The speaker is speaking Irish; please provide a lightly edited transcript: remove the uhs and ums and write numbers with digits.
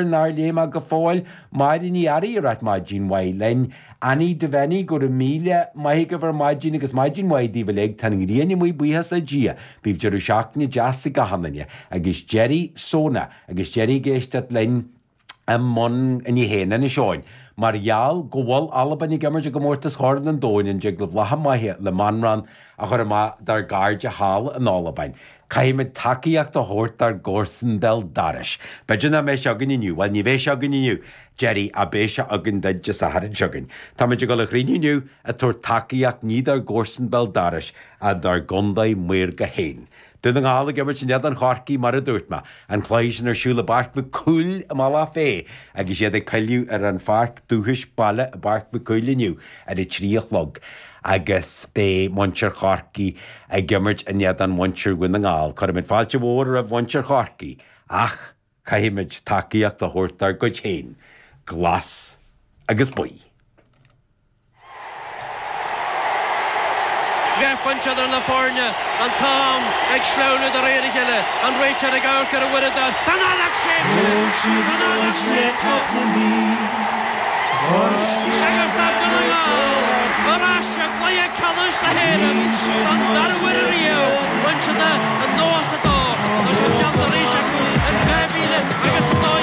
Nár léigh mé go fóill. Máire Ní Fhearraigh ag ráit maidin mhaith linn. Annie Devenny, go raibh míle maith agaibh ar maidin agus maidin mhaith daoibh uilig. Tá an ghrian amuigh buíochas le Dia. Bíodh deireadh seachtaine deas ag achan duine. Agus Gerry sona agus Gerry ag éisteacht linn i mbun ní hé in Inis Eoghain. Mar gheall go bhfuil Albain ag imirt i gcomórtas Chorn an Domhain an dtig libh lacha maithe le Manchán a chur amach dár gcairde thall in Albain? Caithfimid tacaíocht a thabhairt dár gcomharsan béal dorais. B'fhéidir nach mbeidh sé againn inniu. Bhuel, ní bheidh sé againn inniu, Gerry, ach beidh sé againn duit Dé Sathairn seo chugainn. Táimid ag dul a chruinniú inniu ag tabhairt tacaíocht ní dár gcomharsan béal dorais ach dár gcontae maorga féin. Dún na nGall ag imirt in éadan Chorcaí mar a dúirt mé. An cluiche sin ar siúl i bPáirc Mhic Cumhaill i mBealach Féich agus iad ag pilleadh ar an pháirc dúchais baile i bPáirc Mhic Cumhaill inniu ar a 3 a chlog agus beidh muintir Chorcaí ag imirt in éadan mhuintir Dhún na nGall. Cuirimid fáilte mhór roimh mhuintir Chorcaí ach caithfimid tacaíocht a thabhairt dár gcuid féin, glas agus buí. Leathphointe idir na foirne, an t-am ag sleamhnú de réir a chéile, an réiteoir ag amharc ar an uaireadóir. Tá an fheadóg séidte! Thóg siad Tá an muid fheadóg le séidte! cúpla mí. Agus tá Dún na nGall ar ais i gcluiche ceannais na hÉireann don dara huair riamh. Rinne siad an nós.